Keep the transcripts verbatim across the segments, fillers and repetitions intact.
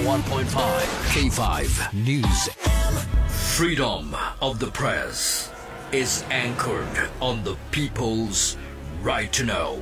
One point five K five News. Freedom of the press is anchored on the people's right to know.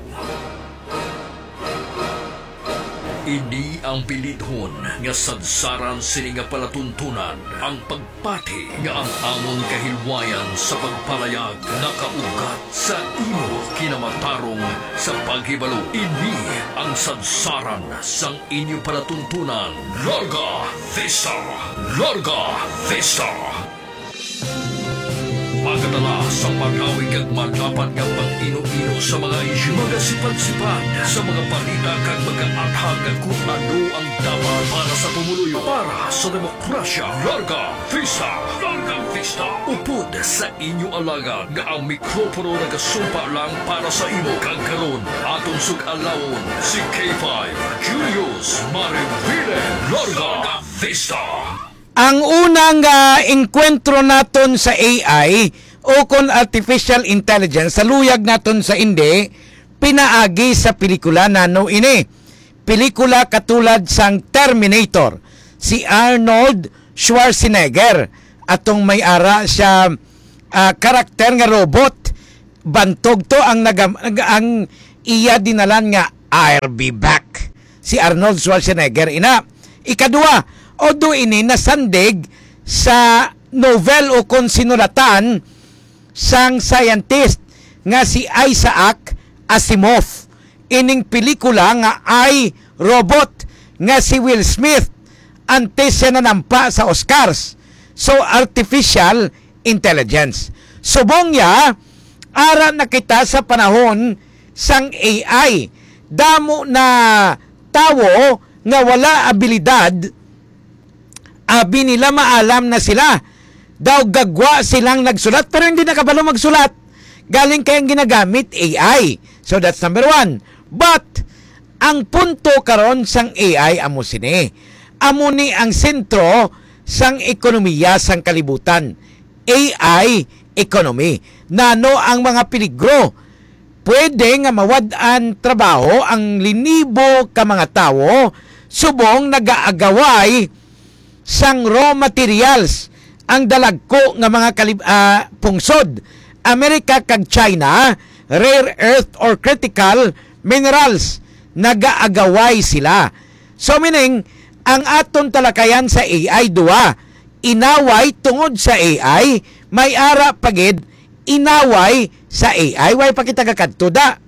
Ini ang bilidhon nga sadsaran sini nga palatuntunan, ang pagpati nga ang amon kahilwayan sa pagpalayag nakaugat sa imo kinamatarong sa paghibalo. Ini ang sadsaran sang inyo palatuntunan. Larga Vista! Larga Vista! Magadala sa malawi kag madapat nga pag-ino-ino sa mga isyu. Magasipad-sipad sa mga balita kag magaathag kung ano ang dapat para sa pumuluyo, para sa demokrasya. Larga Vista! Larga Vista! Upod sa inyo alagad nga ang mikropono nagasumpa lang para sa imo. Kag karon, aton sug-alawon si K five, Julius Marivile. Larga Vista! Ang unang, ah, engkwentro naton sa A I o kon artificial intelligence, sa luyag naton sa indi, pinaagi sa pelikula. Nano ini? Pelikula katulad sang Terminator, si Arnold Schwarzenegger, atong may ara siya, ah, karakter nga robot. Bantog to ang nagam-, nag-, ang iya dinalan nga, "I'll be back." Si Arnold Schwarzenegger ina. Ikadua, although ini nasandig sa novel o kon sinulatan sang scientist nga si Isaac Asimov, ining pelikula nga I, Robot nga si Will Smith antes siya nanampa sa Oscars. So, artificial intelligence. Subong niya, ara na kita sa panahon sang A I. Damo na tawo nga wala abilidad, abi nila maalam na sila. Daw gagwa silang nagsulat, pero hindi nakabalo magsulat. Galing kay ang ginagamit, A I. So, that's number one. But, ang punto karon sang A I amo sini. Amo ni ang sentro sang ekonomiya sang kalibutan. A I economy. Nano ang mga peligro? Pwede nga mawad-an trabaho ang linibo ka mga tawo subong nagaagaway sang raw materials ang dalagko nga mga kalib-, ah, pungsod. Amerika kag China, rare earth or critical minerals, nagaagaway sila. So, meaning, ang aton talakayan sa A I, duha, inaway tungod sa A I, may ara pa gid inaway sa A I. Way pa kita kakadto da.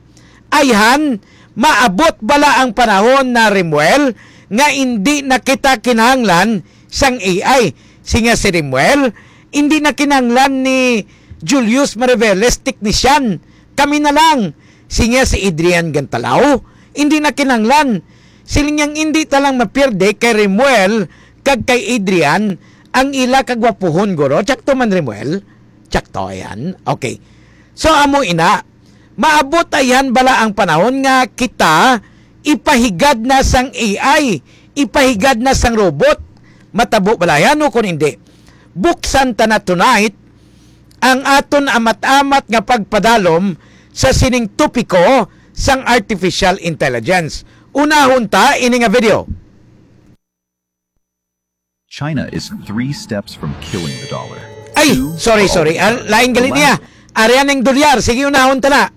Ayhan, maabot bala ang panahon na, Remuel, nga indi na kita kinahanglan sang A I? Sinya si Remuel, indi na kinahanglan ni Julius Mariveles, teknisyan. Kami na lang. Sinya si Adrian Gantalao, indi na kinahanglan. Siling niyang indi ta lang mapierde kay Remuel kag kay Adrian ang ila kagwapuhon, guro. Tsakto man, Remuel? Tsakto, ayan. Okay. So, amo ina, maabot ayan bala ang panahon nga kita ipahigad na sang A I, ipahigad na sang robot? Matabo bala yan o kung hindi? Buksan ta na tonight ang aton amat-amat nga pagpadalom sa sining topiko sang artificial intelligence. Unahon ta ini nga video. China is three steps from killing the dollar. Ay, Two, sorry, for all sorry. the Ah, time. lain The galit niya. last Ari ang dolyar. Sige, unahon ta na.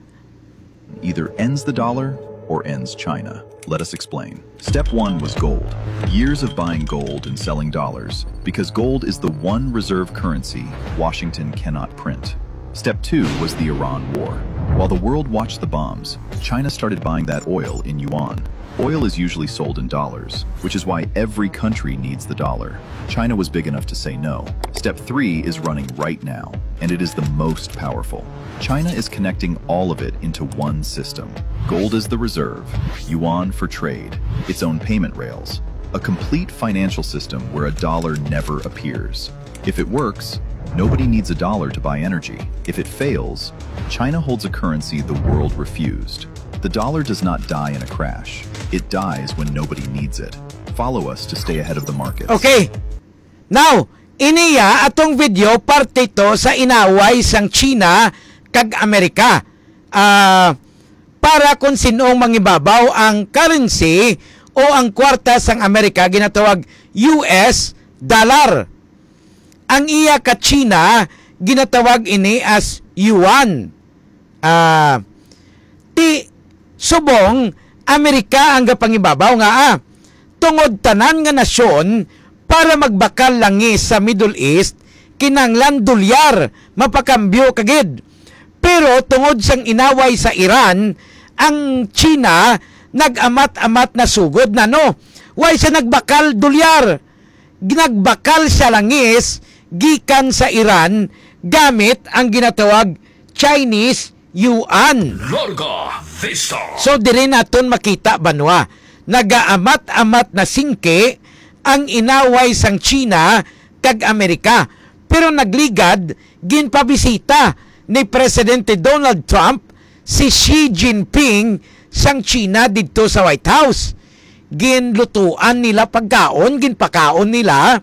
either ends the dollar or ends China. Let us explain. Step one was gold. Years of buying gold and selling dollars, because gold is the one reserve currency Washington cannot print. Step two was the Iran war. While the world watched the bombs, China started buying that oil in yuan. Oil is usually sold in dollars, which is why every country needs the dollar. China was big enough to say no. Step three is running right now, and it is the most powerful. China is connecting all of it into one system. Gold is the reserve, yuan for trade, its own payment rails, a complete financial system where a dollar never appears. If it works, nobody needs a dollar to buy energy. If it fails, China holds a currency the world refused. The dollar does not die in a crash. It dies when nobody needs it. Follow us to stay ahead of the markets. Okay. Now, iniya atong video parte to sa inaway sang China kag Amerika. Ah, para kung sinong mangibabaw ang currency o ang kwarta sang Amerika ginatawag U S dollar. Ang iya ka China, ginatawag ini as yuan. Ah, ti subong Amerika ang gapangibabaw nga, ah, tungod tanan nga nasyon para magbakal langis sa Middle East, kinahanglan dolyar mapakambyo kagid. Pero tungod sang inaway sa Iran, ang China nag-amat-amat na sugod na, no? Why siya nagbakal dolyar? Nagbakal siya langis gikan sa Iran gamit ang ginatawag Chinese yuan. Larga Vista. So, diri naton makita, banwa, nagaamat-amat na singki ang inaway sang China kag Amerika. Pero nagligad, ginpabisita ni Presidente Donald Trump si Xi Jinping sang China didto sa White House. Ginlutuan nila pagkaon, ginpakaon nila.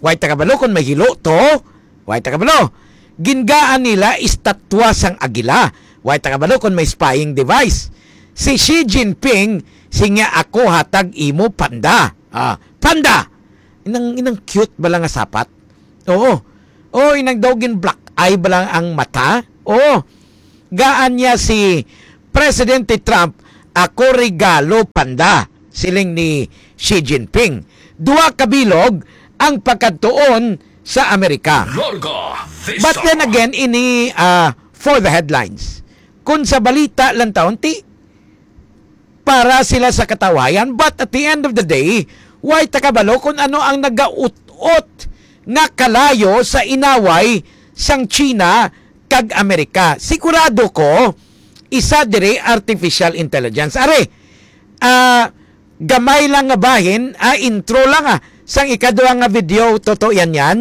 Way ta kabalo kon may hilo to. Way ta kabalo. Gingaan nila estatwa sang agila. Way ta kabalo kon may spying device. Si Xi Jinping, siya, "Ako hatag imo panda." Ah, panda! Inang, inang cute bala nga sapat. Oo. Oh, inang daw gin black eye bala ang mata. Oo. Gaan niya si Presidente Trump, "Ako regalo panda," siling ni Xi Jinping. Duha ka bilog ang pagkadtuon sa Amerika. Larga Vista. But then again, ini, ah, for the headlines. Kung sa balita lang taon, ti, para sila sa katawayan. But at the end of the day, way ta kabalo kung ano ang nagaut-ot nga kalayo sa inaway sang China kag Amerika. Sigurado ko, isa diri artificial intelligence. Are, ah, gamay lang nga bahin, ah, intro lang, ah, sang ikaduha nga video, totoo yan yan,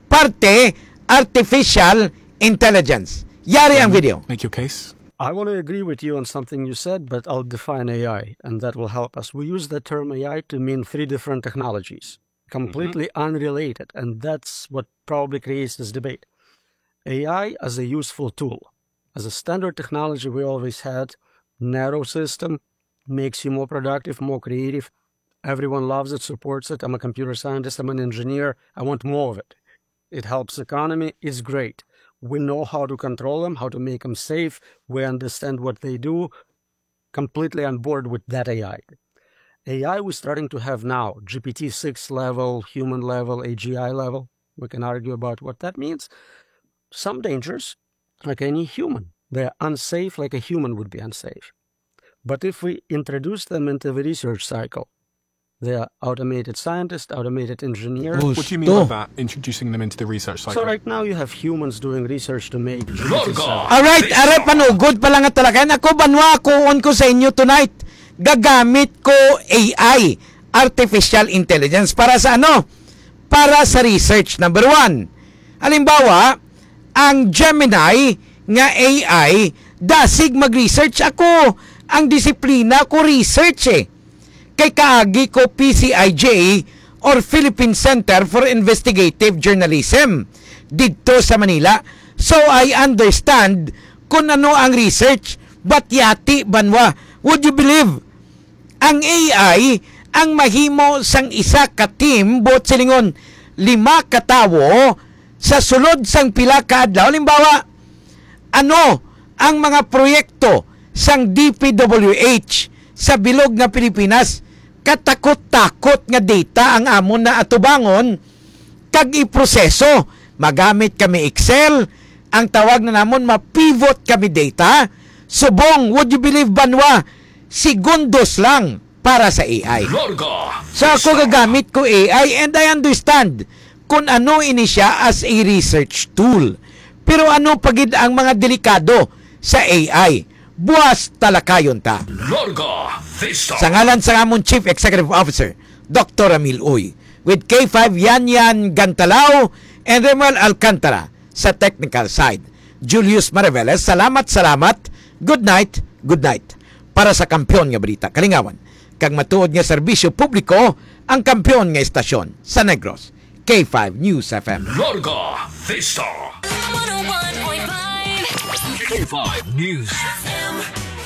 parte artificial intelligence. Yari ang video. Make your case. I want to agree with you on something you said, but I'll define A I, and that will help us. We use the term A I to mean three different technologies, completely unrelated, and that's what probably creates this debate. A I as a useful tool, as a standard technology we always had, narrow system, makes you more productive, more creative. Everyone loves it, supports it. I'm a computer scientist, I'm an engineer. I want more of it. It helps economy. It's great. We know how to control them, how to make them safe. We understand what they do. Completely on board with that A I. A I we're starting to have now, G P T six level, human level, A G I level. We can argue about what that means. Some dangers, like any human, they're unsafe like a human would be unsafe. But if we introduce them into the research cycle, they are automated scientists, automated engineers. What do you mean by that, introducing them into the research cycle? So right now you have humans doing research to make G P T cells. Alright, are panugod pa lang nga talakayan. Ako, banwa, kuon ko sa inyo tonight. Gagamit ko A I, artificial intelligence, para sa ano? Para sa research. Number one. Halimbawa, ang Gemini nga A I, dasig mag-research. Ako, ang disiplina ko, research eh. Kay kaagi ko P C I J or Philippine Center for Investigative Journalism didto sa Manila. So, I understand kung ano ang research. But yati, banwa, would you believe? Ang A I ang mahimo sang isa ka team, buot silingon, lima ka tawo sa sulod sang pila ka adlaw. Halimbawa, ano ang mga proyekto sang D P W H sa bilog nga Pilipinas? Katakot-takot nga data ang amon na atubangon kag iproseso. Magamit kami Excel, ang tawag na namon, ma-pivot kami data. Subong, would you believe, banwa, segundos lang para sa A I. Larga So ako Vista. Gagamit ko A I and I understand kung ano ini siya as a research tool. Pero ano pa gid ang mga delikado sa A I? Buas talakayon ta. Larga Vista. Sa ngalan sa amon Chief Executive Officer, Doctor Ramil Uy, with K five Yan Yan Gantalao and Remuel Alcantara sa technical side. Julius Mariveles, salamat, salamat. Good night, good night. Para sa kampiyon nga balita, kalingawan, kag matuod nga serbisyo publiko, ang kampiyon nga estasyon sa Negros, K five News F M. Larga Vista. One oh one point five. K five News F M.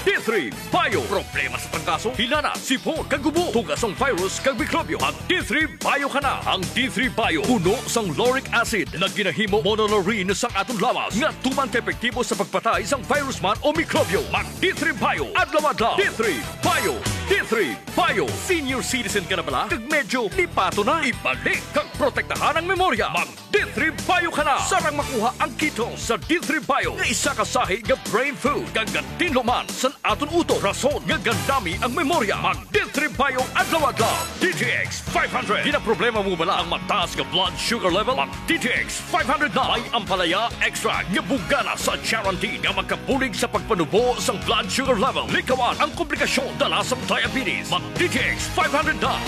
D three Bio. Problema sa trangkaso, hilanat, sipon, kag ubo, tuga sang virus kag mikrobyo. Mag D three Bio ka na. Ang D three Bio puno sang lauric acid na ginahimo monolaurin sang aton lawas nga tuman ka epektibo sa pagpatay sang virus man o mikrobyo. Mag D three Bio adlaw-adlaw. D three Bio. D three Bio. Senior citizen ka na bala? Kag medyo lipato na? Ibalik kag protektahan ang memorya. Mag D three Bio ka na. Sarang makuha ang ketone sa D three Bio nga isa ka sahi nga brain food kag gatinluman san aton utok, rason nga gandami ang memorya. Mag D three Bio adlaw-adlaw. D T X five hundred. Ginaproblema mo bala ang mataas nga blood sugar level? Mag D T X five hundred na. May ampalaya extract nga bugana sa charantin nga makabulig sa pagpanubo sang blood sugar level. Likawan ang komplikasyon dala sang diabetes. Mag D T X five hundred na.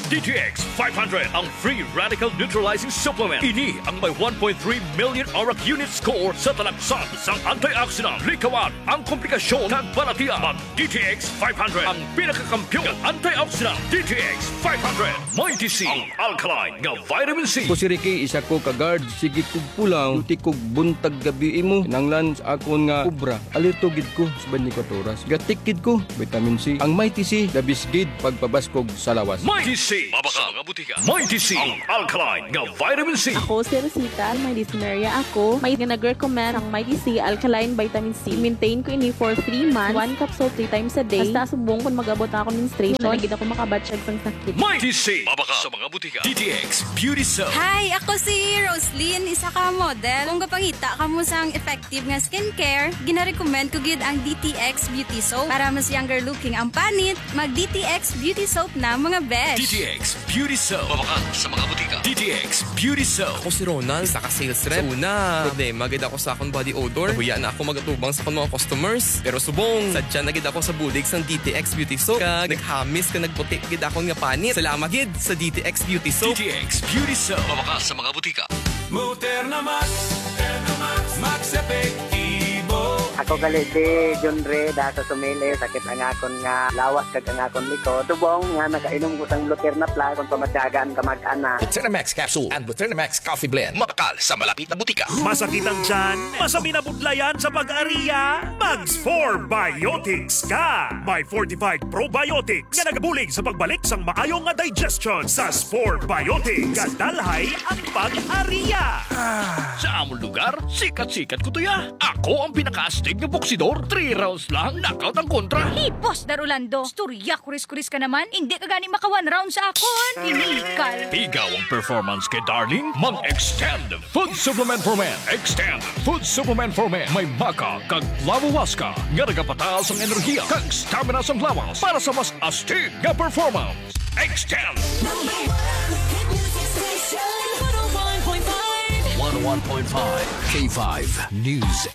D T X five hundred, ang free radical neutralizing supplement. Ini ang may one point three million ORAC unit score sa talaksan sang antioxidant. Likawan ang komplikasyon kag balatian. Mag D T X five hundred, ang pinakakampiyon nga antioxidant. D T X five hundred, Mighty C, ang alkaline nga vitamin C. Ako si Ricky, isa ko ka guard. Sige kog pulaw, duty kog buntag gabi imo. Kinahanglan sa akon nga obra, alerto gid ko sa twenty-four oras. Gatik gid ko, vitamin C. Ang Mighty C, the best gid pagpabaskog sa lawas. Mighty C, mabakal sa mga butika. Mighty C, ang alkaline nga vitamin C. Ako si Rosita, may dysmenorrhea ako. May nag-recommend ang Mighty C alkaline vitamin C. Maintain ko ini for three months. One capsule three times a day. Hasta subong kung mag-abot na ako menstruation, na gid ako makabatsyag sang sakit. Mighty C, mabakal sa mga butika. D T X Beauty Soap. Hi, ako si Roslyn, isa ka model. Kung gapangita kamo sang effective nga skincare, ginarecommend ko gid ang D T X Beauty Soap. Para mas younger looking ang panit, mag D T X Beauty Soap na, mga besh. D T X Beauty Soap. Mabakal sa mga butika. D T X Beauty Soap. Ako si Ronald, isa ka sales rep. Sa una, problema gid ako sa akong body odor. Nahuya na ako magatubang sa akong mga customers. Pero subong, sadya na gid ako sa bulig sang D T X Beauty Soap. Kag naghamis kag nagputi gid akon nga panit. Salamat gid sa D T X Beauty Soap. D T X Beauty Soap. Mabakal sa mga butika. Moterna Max, Moterna Max, Max Epektibo. Ako gali si John Ray, da sa Sumili, sakit ang akon nga lawas kag ang akon likod. Subong nga nakainom ko sang Luterna Plus, kung pamatyagan, kamag-anak. Luterna Max Capsule and Luterna Max Coffee Blend. Mabakal sa malapit na butika. Masakit ang tiyan? Masabi na budlayan sa pag-ariya? Mag Spore Biotics ka! May fortified probiotics nga nagabulig sa pagbalik sang maayo nga digestion. Sa Spore Biotics, gadalhay ang pag-ariya. Sa amon lugar, sikat-sikat ko to ya. Ako ang pinakaastig nga boksidor. Three rounds lang, knockout ang kontra. Hipos, Dar Orlando. Istorya, kuris-kuris ka naman. Hindi ka gani maka one round sa akon. Inikal. Pigaw ang performance kay Darling. Mag-extend Food Supplement for Men. Extend Food Supplement for Men. May maca kag flavowaska nga nagapataas ang enerhiya kag stamina sang lawas para sa mas astig nga performance. Extend. Number one hit music station, one oh one point five. One oh one point five K five News.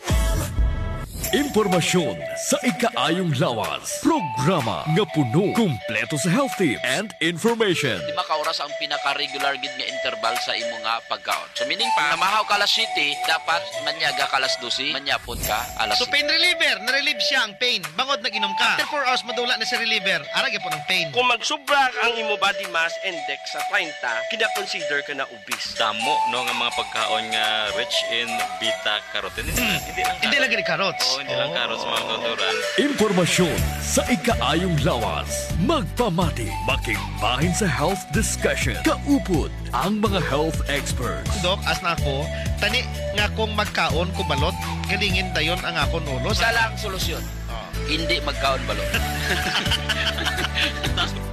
Impormasyon sa ikaayong lawas. Programa nga puno, kumpleto sa health tips and information. Di ba ka oras ang pinaka-regular gid nga interval sa imo nga pagkaon? So, meaning pa, namahaw ka alas siyete, dapat manyaga ka alas dose, manyapon ka alas So, siyete. Pain reliever, na-relieve siya ang pain. Bangod nag-inom ka. After four hours, madula na si reliever. Ara gyapon ang pain. Kung magsubra ang imo body mass index sa treinta, kina-consider ka na obese. Damo, no, nga mga pagkaon nga rich in beta carotene. Hindi lang Hindi lang carrot. Gani carrots. Oo, hindi lang Oo. Carrots, mga kauturan. Impormasyon sa ikaayong lawas. Magpamati, makigbahin sa health discussion. Kaupod ang mga health experts. Dok, as na ako, tani nga kung magkaon ko balot, galingin dayon ang akon ulo. Isa lang solusyon. Oh. Hindi magkaon balot.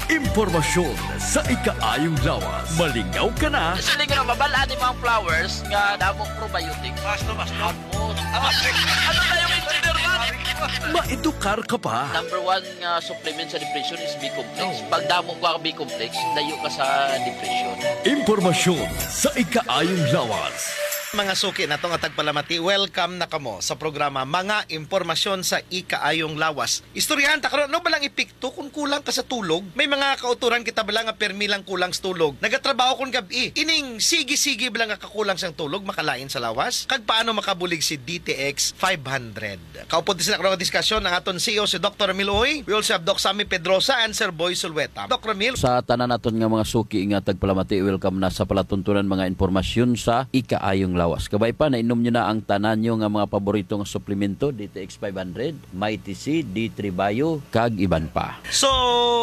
Impormasyon sa ikaayong lawas. Malingaw ka na. Actually, nga mabal-an ni mga flowers nga damong probiotics. Basto, basto. Ano na yung engineer man? Maedukar ka pa. Number one nga supplement sa depression is B-complex. Oh. Pag damo ka B-complex, layo ka sa depression. Impormasyon sa ikaayong lawas. Mga suki nato nga tagpalamati, welcome na kamo sa programa Mga Impormasyon sa Ikaayong Lawas. Istoryahan ta karon, ano ba lang epekto kung kulang ka sa tulog? May mga kauturan kita bala nga permi lang kulang sa tulog. Nagatrabaho kon gab-i. Ining sige-sige bala nga kakulang sang tulog makalain sa lawas? Kag paano makabulig si D T X five hundred? Kaupod sila karon nga diskusyon ang aton C E O, si Doktor Ramil Uy. We also have Doc Sammy Pedrosa and Sir Boy Sulweta. Doc Ramil. Sa tanan naton nga mga suki nga tagpalamati, welcome na sa palatuntunan mga impormasyon sa ikaayong lawas. Kabay pa, nainom nyo na ang tanan nyo nga mga paborito nga suplemento, D T X five hundred, Mighty C, D three Bio, kag iban pa. So,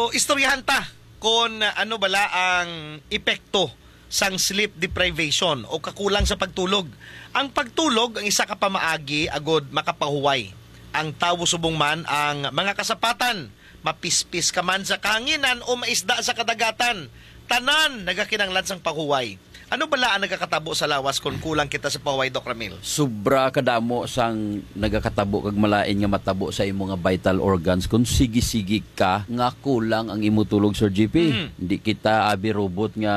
istoryahan ta kon ano bala ang epekto sang sleep deprivation o kakulang sa pagtulog. Ang pagtulog ang isa ka pamaagi agud makapahuway ang tawo subong man ang mga kasapatan, mapispis ka man sa kahanginan o maisda sa kadagatan. Tanan nagakinahanglan sang pahuway. Ano bala ang nagakatabo sa lawas kon kulang kita sa pahuway, Doc Ramil? Sobra kadamo sang nagakatabo kag malain nga matabo sa imo nga vital organs kung sige-sige ka nga kulang ang imo tulog, Sir G P. Mm. Hindi kita abi robot nga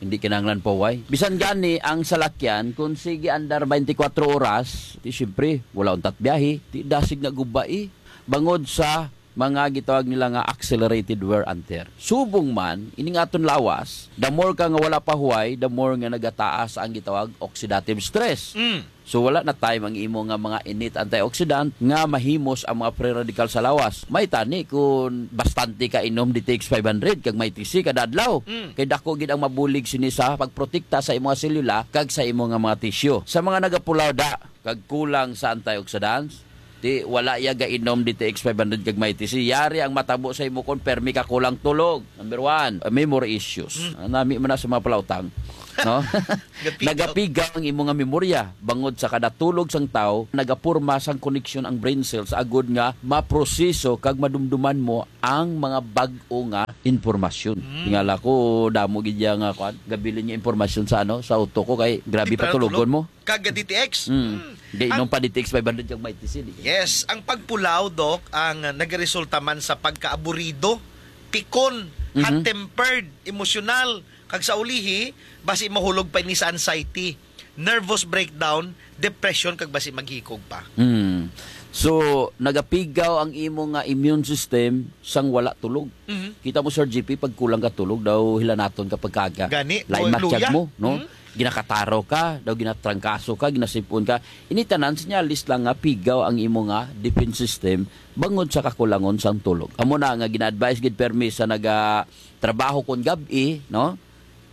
hindi kinahanglan pahuway. Bisan gani ang salakyan, kung sige andar twenty-four oras, di siyempre, wala untat biyahe, di dasig na gubai. Bangod sa mga gitawag nila nga accelerated wear and tear. Subong man, ining aton lawas, the more ka nga wala pahuway, the more nga nagataas ang gitawag oxidative stress. Mm. So, wala na time ang imo nga mga innate antioxidant nga mahimos ang mga free radical sa lawas. May tani kung bastante ka inom D T X five hundred kag Mighty C kada adlaw. Mm. Kay dako gid ang mabulig sini sa pagprotekta sa imo nga selula kag sa imo nga mga tissue. Sa mga nagapulaw da, kag kulang sa antioxidants, di wala iya gainom D T X five hundred kag Mighty C. Yari ang matabo sa imo kon permi ka kulang tulog. Number one, uh, memory issues. Mm. Ah, nami man na sa mga palautang, no? Gapigaw. Nagapigaw ang imo nga memorya. Bangod sa kada tulog sang tawo, nagaporma sang koneksyon ang brain cells agud nga maproseso kag madumduman mo ang mga bag-o nga impormasyon. Mm. Tingala ko, damo gid iya nga, kwan, gabilin nga impormasyon sa, ano, sa utok ko kay grabe pa tulogon mo. Kag D T X. Mm. Mm. Gainom pa D T X five hundred kag Mighty C, di. Yes, ang pagpulaw, Doc, ang nagaresulta man sa pagkaaburido, pikon, Mhm. hot-tempered, emosyonal, kag sa ulihi, basi mahulog pa ini sa anxiety, nervous breakdown, depression, kag basi maghikog pa. Mm. So, nagapigaw ang imo nga immune system sang wala tulog. Mhm. Kita mo, Sir G P, pag kulang ka tulog, daw hilanaton ka pagkaga. Gani, Lain mo, matiyag luya. mo, no? Mhm. Ginakataro ka, daw ginatrangkaso ka, ginasipon ka. Ini tanan, sinyalis lang nga pigaw ang imo nga defense system bangod sa kakulangon sang tulog. Amo na nga gina-advise gid permi sa naga trabaho kon gab-i, no?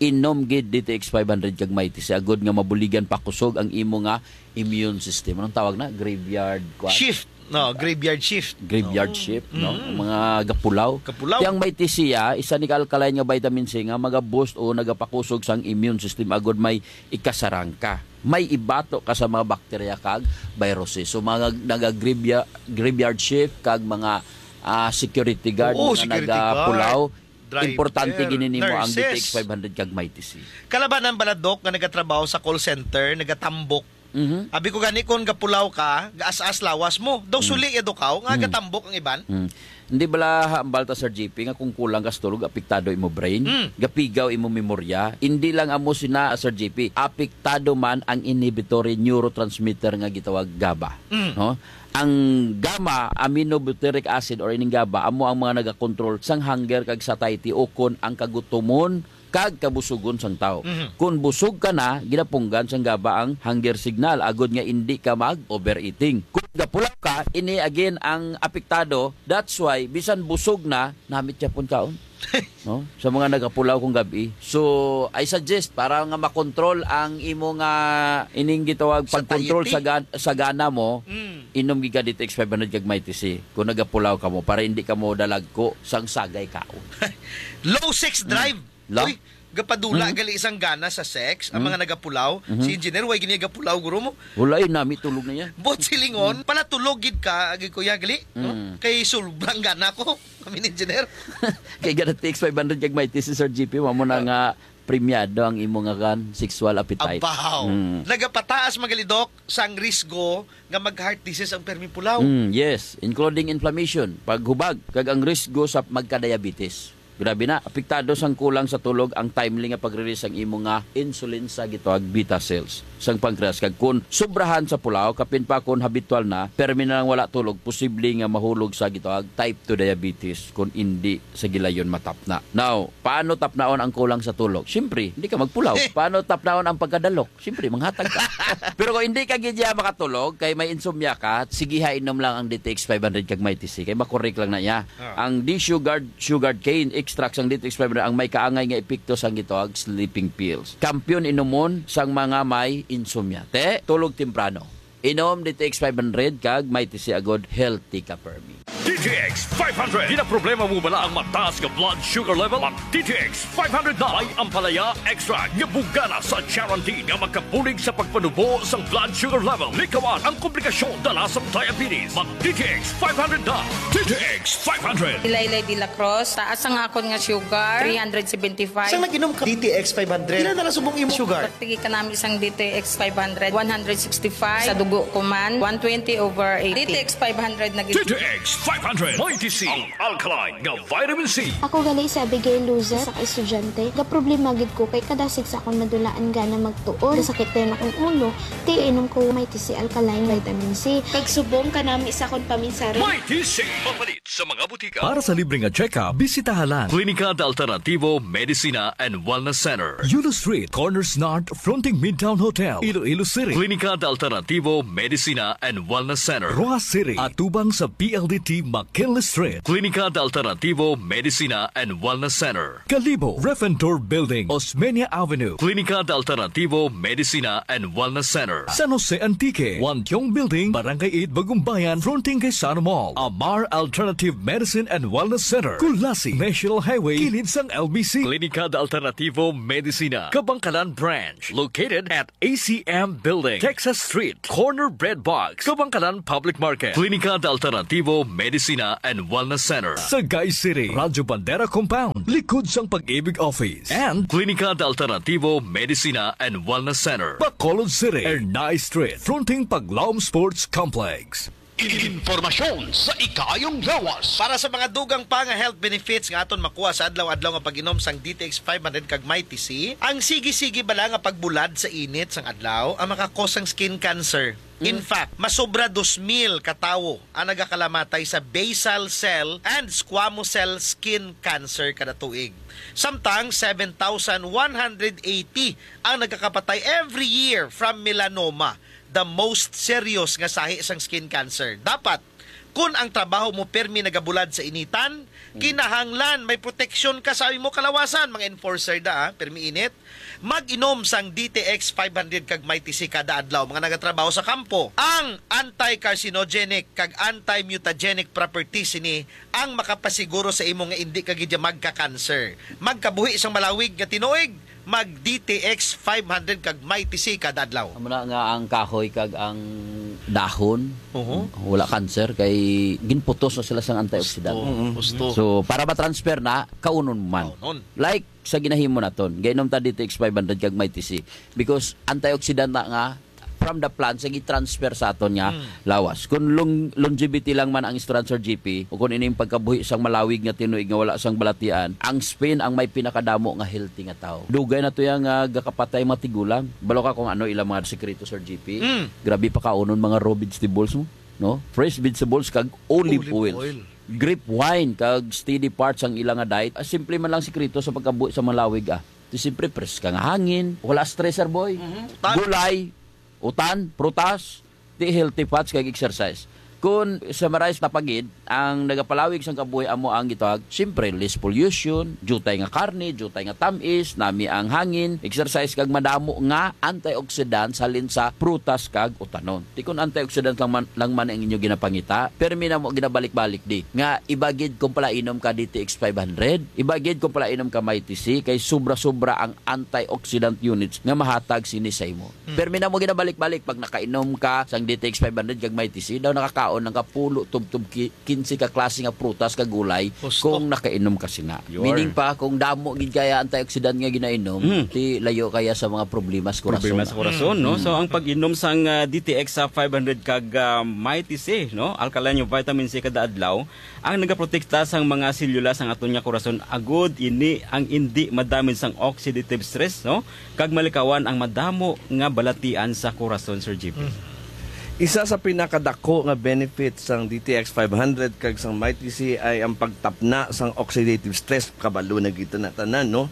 Inom gid D T X five hundred kag Mighty C agud nga mabuligan pakusog ang imo nga immune system. Anong tawag na? Graveyard, kwan? Shift. No, graveyard shift. Graveyard Oo. shift, no? Mm. Ang mga gapulaw. Gapulaw. Kaya ang Mighty C, ah, isa ni ka alkaline nga vitamin C nga maga-boost o nagapakusog sang immune system agud may ikasarang ka. May ibato ka sa mga bakterya kag viruses. So, mga naga-graveyard, graveyard shift kag mga, ah, security guard Oo, nga security nagapulaw, guard. Driver, importante gid nimo ang nurses. D T X five hundred kag Mighty C. Kalabanan bala, Doc, nga nagatrabaho sa call center, nagatambok. Mhm. Abi ko gani, kung gapulaw ka, gaas-as lawas mo. Daw Mm. suli ya, Doc, aw, nga Mm. gatambok ang iban. Mm. Hindi bala hambal ta, Sir G P, nga kung kulang ka sa tulog, apektado imo brain, Mm. gapigaw imo memorya? Hindi lang amo sina, Sir G P, apektado man ang inhibitory neurotransmitter nga gitawag gaba. Mm. No? Ang gamma aminobutyric acid or ining gaba amo ang mga nagakontrol sang hunger kag satiety ukon ang kagutomon kag kabusugon sang tawo. Mhm. Kon busog ka na, ginapunggan sang gaba ang hunger signal agod nga indi ka mag-overeating. Kon gapulaw ka, ini again ang apektado. That's why bisan busog na, namit gyapon kaon. No? Sa mga nagapulaw kung gabi. So, I suggest, para nga makontrol ang imo nga ining gitawag Sa pagkontrol sa satiety? gan-, sa gana mo, Mm. inom gid ka D T X five hundred kag Mighty C kung nagapulaw ka mo para hindi ka mo dalagko sang sagay kaon. Low sex Mm. drive. La? Uy, gapadula Mm. gali sang gana sa sex ang Mm. mga nagapulaw. Mhm. Si engineer, way gini gapulaw, guro mo? Wala, eh, nami tulog na yan. Bot silingon, Mm. pala tulog gid ka, agi ko ya gali, no? Mm. Kay sobrang gana ko. Kami ni engineer. Kay gana T X five hundred kag Mighty C, Sir G P, mamo na Ah. nga premiado ang imo nga kan sexual appetite. Abaw. Mm. Nagapataas, mga lidok, sang risgo nga mag-heart disease ang permi pulaw. Mm, yes, including inflammation, paghubag, kag ang risgo sa magka-diabetes. Grabe na, apektado sang kulang sa tulog ang timely nga pag-release sang imo nga insulin sa gitawag beta cells sang pancreas. Kag kun sobrahan sa pulaw, kapin pa kun habitual na, permi na lang wala tulog, posible nga mahulog sa gitawag type two diabetes kun indi sa gilayon matapna. Now, paano tapnaon ang kulang sa tulog? Siyempre, hindi ka magpulaw. Paano tapnaon ang pagkadalok? Siyempre, manghatag ka. Pero kung hindi ka gid ya makatulog, kay may insomnia ka, sige ha, inom lang ang D T X five hundred kag Mighty C. Kay makorek lang na iya. Ah. Ang D-Sugard, Sugard Cane, extract sang D T X five hundred ang may kaangay nga epekto sang gitawag sleeping pills. Kampiyon inumon sang mga may insomnia. Te, tulog temprano. Inom D T X five hundred kag may tisi agod, healthy ka permi. D T X five hundred. Ginaproblema mo bala ang mataas nga blood sugar level? Mag D T X five hundred na. May ampalaya extract nga bugana sa charantin nga makabulig sa pagpanubo sang blood sugar level. Likawan ang komplikasyon dala sang diabetes. Mag D T X five hundred na. D T X five hundred. Ilaylay de la Cruz, taas ang akon nga sugar, three hundred seventy-five. Sang nag-inom ka D T X five hundred, pila na lang subong imo sugar? Pagtigi ka namin sang D T X five hundred, one hundred sixty-five. Sa dugo ko man, one twenty over eighty. D T X five hundred na gid. D T X five hundred. Mighty C, ang alkaline nga vitamin C. Ako gali si Abigail Luzet, sa ka estudyante. Gaproblema gid ko kay kadasig sa akon madulaan gana magtuon. Sakit din akong ulo, kay inom ko Mighty C alkaline vitamin C. Kag subong kanami sa akon paminsari. Mighty C. Mapalit sa mga butika. Para sa libre nga check-up, bisitaha lang Klinika de Alternativo Medicina and Wellness Center, Yulo Street, Corners North, fronting Midtown Hotel, Iloilo City. Klinika de Alternativo Medicina and Wellness Center, Roxas City, atubang sa P L D T McKinley Street. Klinika de Alternativo Medicina and Wellness Center, Kalibo, Refentor Building, Osmeña Avenue. Klinika de Alternativo Medicina and Wellness Center, San Jose Antique, Wantiong Building, Barangay eight, Bagumbayan, fronting kay Sano Mall. Amar Alternative Medicine and Wellness Center, Culasi, National Highway, kilid sang L B C. Klinika de Alternativo Medicina, Kabangkalan Branch, located at A C M Building, Texas Street, corner Bread Box, Kabangkalan Public Market. Klinika de Alternativo Medicina and Wellness Center, Sagay City, Radyo Bandera Compound, likod sang Pag-ibig Office. And Klinika de Alternativo Medicina and Wellness Center, Bacolod City, Ernai Street, fronting Paglaom Sports Complex. Impormasyon sa ikaayong lawas. Para sa mga dugang pa nga health benefits nga aton makuha sa adlaw-adlaw nga pag-inom sang D T X five hundred kag Mighty C, ang sige-sige bala nga pagbulad sa init sang adlaw ang makakos sang skin cancer. In Mm. fact, masobra dos mil ka tawo ang nagakalamatay sa basal cell and squamous cell skin cancer kada tuig. Samtang seven thousand one hundred eighty ang nagakapatay every year from melanoma, the most serious nga sahi sang skin cancer. Dapat, kun ang trabaho mo permi nagabulad sa initan, Mm. kinahanglan may proteksyon ka sa imo kalawasan, mga enforcer da, ah, permi init. Mag-inom sang D T X five hundred kag Mighty C kada adlaw, mga nagatrabaho sa kampo. Ang anti-carcinogenic kag anti-mutagenic properties sini ang makapasiguro sa imo nga indi ka gid magka-cancer. Magkabuhi sang malawig nga tinuig, mag D T X five hundred kag Mighty C kada adlaw. Amo na nga ang kahoy kag ang dahon, Oho. wala cancer kay ginputos na sila sang antioxidant. Gusto. Mm-mm. Gusto. So, para ma-transfer na, kaunon man. Kaunon. Like sa ginahimo naton, gainom ta D T X five hundred kag Mighty C because antioxidant na nga from the plant sa gi-transfer sa aton nga Mm. lawas. Kung long-, longevity lang man ang istorya, Sir G P, o kung ining pagkabuhi sang malawig nga tinuig nga wala sang balatian, ang spin ang may pinakadamo nga healthy nga tawo. Dugay na to yang, ah, gakapatay mga tigulang. Balo ka kung ano ilang mga sikreto, Sir G P? Mm. Grabe pa kaunon mga raw vegetables mo, no? Fresh vegetables kag olive Olive oil. oil. Grape wine kag steady part sang ila nga diet. Ah, simple man lang sikreto sa pagkabuhi sa malawig, ah. Di siyempre, preska nga hangin, wala stress, sir boy. Mhm. Tan- Gulay, utan, prutas, di healthy fats kag exercise. Kung summarize ta pa gid, ang nagapalawig sang kabuhi amo ang gitawag, siyempre, less pollution, diutay nga karne, diutay nga tamis, nami ang hangin, exercise kag madamo nga antioxidants halin sa prutas kag utanon. Di kun antioxidant lang man, lang man ang inyo ginapangita, permi na mo ginabalik-balik di nga iba gid kung palainom ka D T X five hundred, iba gid kung palainom ka Mighty C, kay sobra-sobra ang antioxidant units nga mahatag sini sa imo. Hmm. Permi na mo ginabalik-balik pag nakainom ka sang D T X five hundred kag Mighty C, daw nakakaon lang ka pulo tubtob ki-, kinse ka klase nga prutas kag gulay Gusto. kung nakainom ka sina. Yun. Meaning pa, kung damo gid kaya antioxidant nga ginainom, Hmm. ti layo kaya sa mga problema sa kurason. Problema sa kurason, no? Hmm. So, ang pag-inom sang, ah, D T X sa five hundred kag, ah, Mighty C, no? Alkaline nga vitamin C kada adlaw, ang nagaprotekta sang mga selula sang aton nga kurason agud ini ang indi madamage sang oxidative stress, no? Kag malikawan ang madamo nga balatian sa kurason, Sir G P. Mm. Isa sa pinakadako nga benefit sang D T X five hundred kag sang Mighty C ay ang pagtapna sang oxidative stress. Kabalo na kita na tanan, no?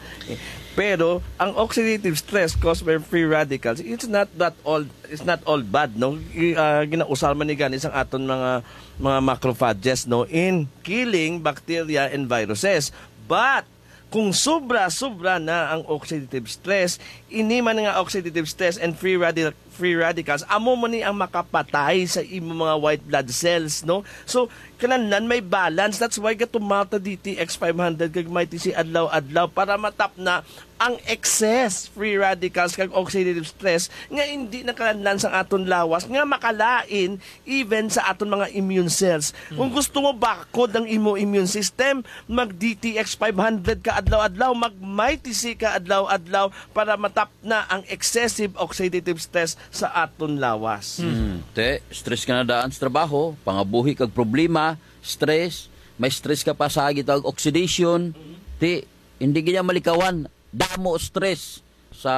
Pero ang oxidative stress caused by free radicals, it's not that all, it's not all bad, no? I-, ah, ginausar man ni gani sang aton mga, mga macrophages, no, in killing bacteria and viruses. But, kung sobra-sobra na ang oxidative stress, ini man nga oxidative stress and free radi-, free radicals, amo man ni ang makapatay sa imo mga white blood cells, no? So, kinahanglan may balance. That's why gatumata D T X five hundred kag may T C adlaw-adlaw para matapna ang excess free radicals kag oxidative stress nga hindi nakalanlan sa aton lawas nga makalain even sa aton mga immune cells. Kung gusto mo bakod ang imo immune system, mag D T X five hundred ka adlaw-adlaw, mag Mighty C ka adlaw-adlaw para matapna ang excessive oxidative stress sa aton lawas. Hmm. Te, stress ka na daan sa trabaho, pangabuhi kag problema, stress, may stress ka pa sa gitawag oxidation, te, hindi gid malikawan. Damo stress sa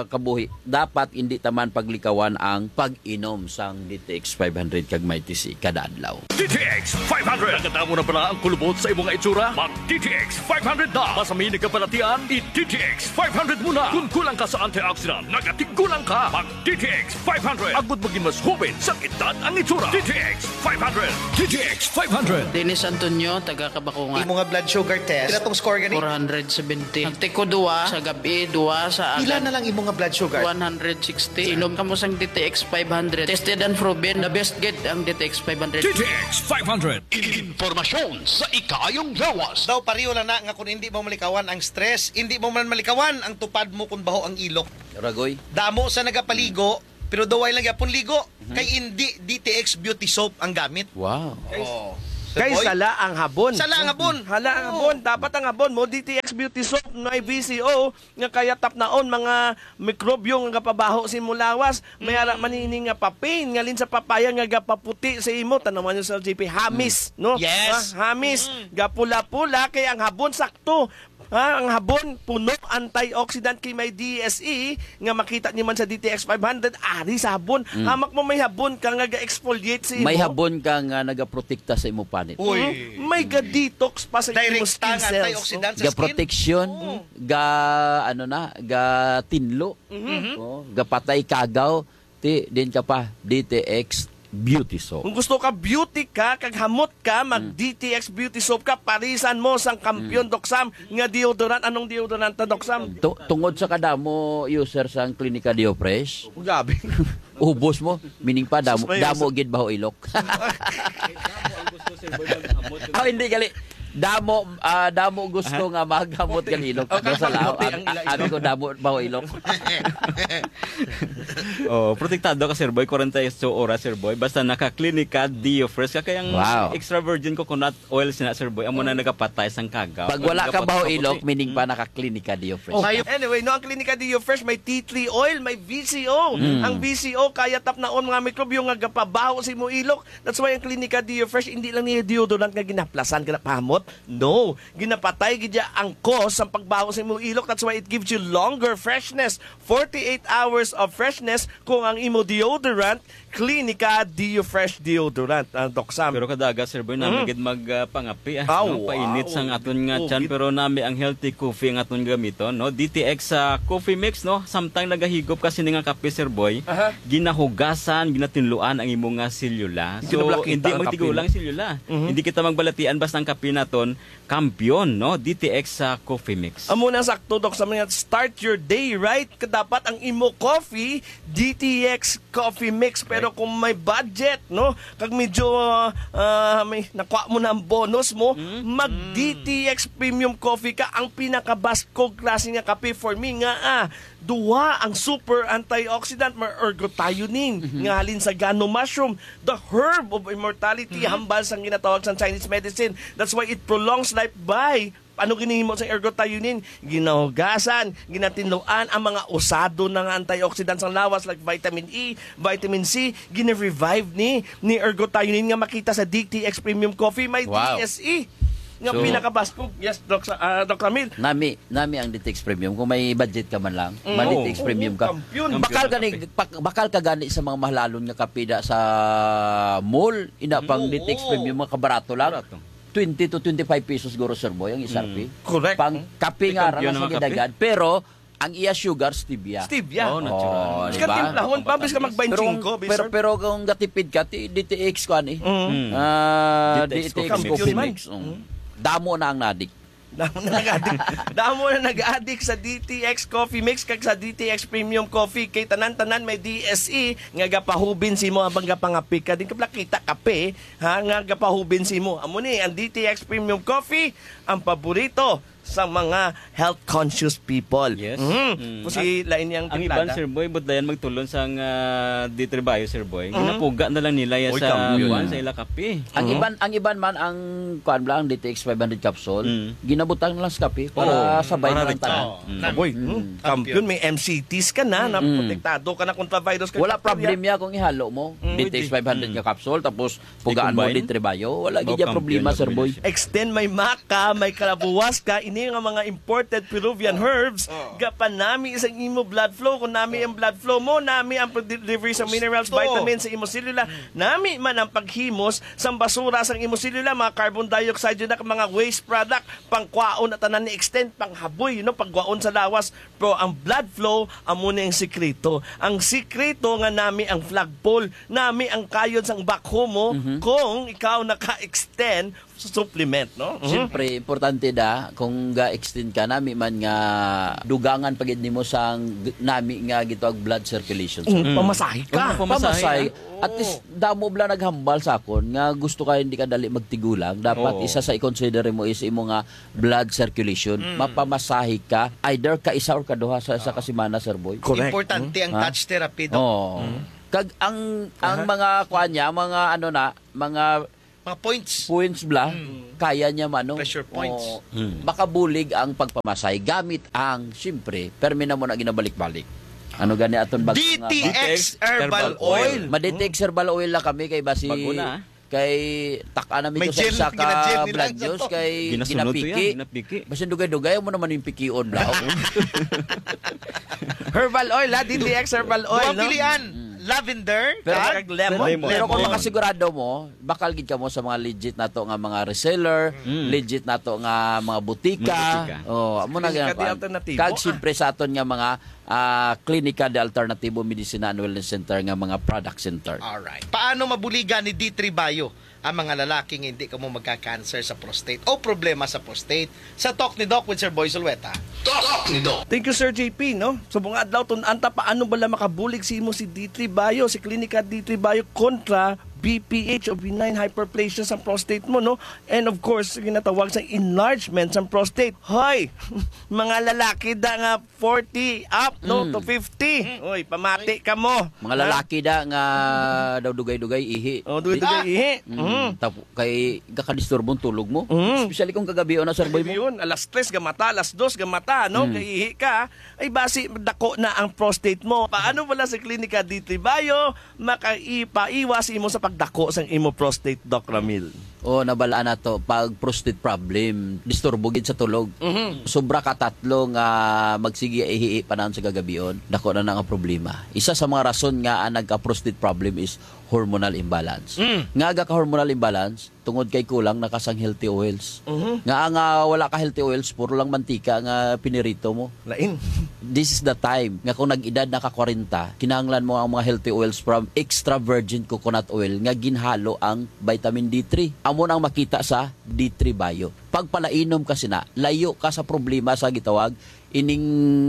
kabuhi. Dapat hindi taman paglikawan ang pag-inom sang D T X five hundred kag Mighty C kada adlaw. D T X five hundred. Nagkadamo na bala ang kulubot sa imong itsura? Mag D T X five hundred na. Masami nagkabalatian, i D T X five hundred muna. Kung kulang ka sa antioxidant, nagatigulang ka. Mag D T X five hundred. Agud maging mas hubin sa edad ang itsura. D T X five hundred. D T X five hundred. Dennis Antonio, taga Kabakungan. Imo nga blood sugar test, pila tong score gani? Four hundred seventy. Nagtiko duwa sa gabi, duwa sa Pila agad. Na lang imo nga blood sugar? One hundred sixty. Inom kamo sang D T X five hundred. Tested and proven. The best gid ang D T X five hundred. D T X five hundred. Impormasyon sa ikaayong lawas. Daw pareho lang na nga kung hindi mo malikawan ang stress, hindi mo man malikawan ang tupad mo kung baho ang ilok. Ragoy. Damo sa nagapaligo, pero daw way lang gyapon ligo. Kay hindi D T X beauty soap ang gamit. Wow. Oh. Kay Boy? Sala ang habon. Sala ang habon. Hala ang Oo. Habon. Dapat ang habon mo, D T X beauty soap, may V C O, nga kaya tapnaon mga mikrobyo nga gapabaho sa imo lawas. May ara man ini nga papain, ngalin sa papaya nga gapaputi sa imo. Tanawan niyo sa G P, hamis, no? Yes. Ah, hamis, gapula-pula, kay ang habon sakto. Ha, ang habon, puno antioxidant kay may D S E nga makita niyo man sa D T X five hundred, ari sa habon. Hamak mo may habon ka nga ga-exfoliate sa imo. May habon ka nga nagaprotekta sa imo panit. Uy. Mhm. May ga-detox pa sa imo Direct skin ang cells, antioxidant no? Sa Ga skin. Protection, Oo. Ga, ano na, ga tinlo. Mhm. Oh, ga patay kagaw. Ti, din ka pa, D T X Beauty Soap. Kung gusto ka beauty ka, kag hamot ka, mag Mm. D T X Beauty Soap ka, parisan mo sang kampiyon, Mm. Doc Sam, nga deodorant. Anong deodorant ta, Doc Sam? Tu-, tungod sa kadamo user sang Klinika Dio Fresh, Grabe. Ubos mo, meaning pa, damo, Sus, may damo user. Gid baho ilok. Ang gusto, Sir Boy, maghamot. Ah, hindi, gali. Damo, ah, damo gusto Aha. Nga maghamot gali ilok. Okay, Doc Sam, maghamot ah, ang ila-, ah, ilok. Abi ko, damo baho ilok. Oh, protektado ka, Sir Boy. Kwarenta y ocho oras, Sir Boy. Basta naka-Klinika Dio Fresh ka. Kaya ang Wow. Extra virgin coconut oil sina, Sir Boy, amo na nagapatay sang kagaw. Pag wala ka baho ilok, meaning pa naka-Klinika Dio Fresh. Oh, anyway, no, ang Klinika Dio Fresh may tea tree oil, may V C O. Mm. Ang V C O kaya tapnaon mga mikrobyo nga gapabaho sa imo ilok. That's why ang Klinika Dio Fresh hindi lang niya deodorant nga ginaplasan, ginapahamot. No, ginapatay gid niya ang cause sa pagbaho sa imo ilok. That's why it gives you longer freshness, forty-eight hours of freshness kung ang imo deodorant Klinika Dio Fresh deodorant, ah, Doc Sam. Pero kada aga, Sir Boy, Mm. nami gid mag, ah, pangapi, ah, Aw, no? Painit wow. Sang aton nga Oh, tiyan, gid. Pero nami ang healthy coffee ang aton gamiton, no? D T X sa coffee mix, no? Samtang nagahigop ka sini nga kape, Sir Boy, Aha. Ginahugasan, ginatinluan ang imo nga selula. So, Ginablakita hindi ang kape magtigulang mo. Selula. Mhm. Hindi kita magbalatian basta ang kape naton kampiyon, no? D T X sa coffee mix. Amo na sakto, Doc, sa mga start your day right. Dapat ang imo coffee, D T X coffee mix. Pero Correct. Kung may budget, no? Kag medyo, ah, may nakuha mo na ang bonus mo, Mm. Mag Mm. D T X premium coffee ka, ang pinakabaskog klase nga kape for me nga, ah, duha ang super antioxidant, may ergothioneine, Mhm. Nga halin sa gano mushroom, the herb of immortality, Mhm. Hambal sang ginatawag sang Chinese medicine. That's why it prolongs life by Ano ginhimo sa ergothioneine? Ginahugasan, ginatinluan ang mga usado na nga antioxidant sang lawas like vitamin E, vitamin C, gina-revive ni ni ergothioneine nga makita sa D T X Premium Coffee. May Wow. D S E nga So, pinakabaskog. Yes, Doc, sa, ah, Doc Ramil. Nami, nami ang D T X Premium. Kung may budget ka man lang, Mm. ma-, Oo. D T X Premium Oo, ka. Kampiyon. Bakal Kampiyon gani, ang kape. Pak-, bakal ka gani sa mga mahalalon nga kape da sa mall, ina pang Oo. D T X Premium, mga kabarato lang. Barato. Twenty to twenty-five pesos siguro, Sir Boy, ang isa Mm. pi. Correct. Pang kape May nga, kampiyon rana sa ang mga kape. Gidagad, pero ang iya sugar, stevia. Stevia. Oh, natural. Oh, Mas di ba? Katimplahon pa, bis ka mag Pero, twenty-five, pero, sir. Pero kung gatipid ka, ti, D T X ko, ani? Mm. Mm. Ah, D T X D T X coffee mix. Coffee man. Mix, mm. Mm. Damo na ang nadik. Damo na nag-adik. Damo na nag-adik sa D T X Coffee Mix kag sa D T X Premium Coffee. Kay tanan-tanan may D S E nga gapahubin sa imo habang gapangapi ka. Di ka pala kita kape, ha, nga gapahubin sa imo. Amo ni ang D T X Premium Coffee, ang paborito sa mga health conscious people. Yes. Mhm. Mm. Kung si lain niyang Ang iban, timplada. Sir Boy, but dayan magtulon sang, ah, D three Bio, Sir Boy. Mhm. Ginapuga na lang nila ya Oy, sa kampiyon. kuwan, sa ila kape. Ang Mhm. iban, ang iban man ang kuwan bala, ang D T X five hundred capsule, Mm. ginabutang na lang sa kape para Oo, sabay para na lang rito. tanan. Oo, Mm. na- Aboy, Mm. hmm, kampiyon, may M C Ts ka na, na Mm. protektado ka na kontra virus kag Wala bakterya. problema kung ihalo mo. Mm. D T X five hundred Mm. nga capsule, tapos pugaan mo I-combine? D three Bio. Wala Mao gid ya kampiyon problema, nga Sir Boy. kombinasyon. Extend may maka, may kalabuwas ka, ini nga mga imported Peruvian herbs, Oh. gapanami sa imo blood flow. Kung nami ang blood flow mo, nami ang delivery sa minerals, Gusto. vitamins sa imo selula, nami man ang paghimos sang basura sang imo selula, mga carbon dioxide, yun na, mga waste product, pangkwaon na tanan ni extend, panghaboy, you know, pagwaon sa lawas. Pero ang blood flow, amo na ang sikreto. Ang sikreto nga nami ang flagpole, nami ang kayod sang backhoe mo, Mhm. kung ikaw naka-extend sa supplement, no? Mhm. Siyempre, importante da, kung ga-extend ka, nami man nga dugangan pa gid nimo sang g-, nami nga gitawag blood circulation. Mm, Mm. pamasahe ka. Oo, pamasahe, Pamasahe. ah. At Oo. least, damo bala naghambal sa akon nga gusto ka hindi ka dali magtigulang. Dapat Oo. isa sa i-consider mo is imo nga blood circulation. Mm. Mapamasahe ka, either ka isa or ka duha sa, sa Ah. kasimana, Sir Boy. Correct. Importante ang Ah. touch therapy, Doc. Oo. Mm. Kag ang, ang Aha. mga kuan niya, mga ano na, mga Mga points. points bala, Mm. kaya niya mano. Pressure points. Oo. Mm. Makabulig ang pagpamasahe gamit ang, siyempre, permi na mo na ginabalik-balik. Ano gani aton bag-, D T X nga herbal herbal oil. oil. Ma-D T X herbal oil lang kami kay basi Bago na, ah. kay tak-a na mi May to sa gel, isa ka gina-gel nila blood sa juice to. kay Ginasunod to ginapiki. yan, ginapiki. Basin dugay-dugay mo naman yung pikion, bla. Herbal oil, ha? D T X herbal oil, Duha no? pilian. Mm. Lavender, Pero, kag Kag lemon. pero, pero kung Lemon. makasigurado mo, bakal gid kamo sa mga legit nato nga mga reseller, Mm. legit nato nga mga butika. Mga butika. Oh, amo na Kag gid ang kuan. alternatibo, Kag ah. siyempre sa aton nga mga, ah, Klinika de Alternatibo Medicina and Wellness Center nga mga product center. Alright. Paano mabuligan ni D three Bio ang mga lalaki nga hindi kamo magka-cancer sa prostate o problema sa prostate? Sa Talk ni Doc with Sir Boy Zulueta. Talk ni Doc. Thank you, Sir J P, no? Sa mga adlaw, tun-an ta paano bala makabulig si imo si D three Bio, si Klinika D three Bio kontra B P H o benign hyperplasia sa prostate mo, no? And of course, ginatawag sa enlargement sa prostate. Hoy, mga lalaki da nga forty up, no, Mm. to fifty. Mm. Oy, pamati ka mo. Mga Ha? lalaki da nga daw dugay-dugay ihi. Oh, dugay-dugay Ah! ihi. Mm. Mm. Tapo, kay gakadisturbo ang tulog mo. Mm. Especially kung kagabi na, Sir Boy mo. Kagabi yun, alas tres gamata, alas dos gamata, no? Mm. Kay ihi ka, ay basi dako na ang prostate mo. Paano wala sa Klinika D three Bio? Makaipaiwas imo sa pagdako sang imo prostate, Doc Ramil. O, nabalaan nato, pag prostate problem, disturbo gid sa tulog. Mhm. Sobra ka tatlo nga magsige ihi panahon sa gagabion, dako na na nga problema. Isa sa mga rason nga ang nagka-prostate problem is hormonal imbalance. Mm. Nga aga ka hormonal imbalance, tungod kay kulang na ka sang healthy oils. Mhm. Nga ang, ah, wala ka healthy oils, puro lang mantika nga pinirito mo. Lain. This is the time nga kung nag-edad na ka kwarenta, kinahanglan mo ang mga healthy oils from extra virgin coconut oil nga ginhalo ang vitamin D three. Amo na ang makita sa D three Bio. Pagpalainom ka sina, layo ka sa problema sa gitawag ining,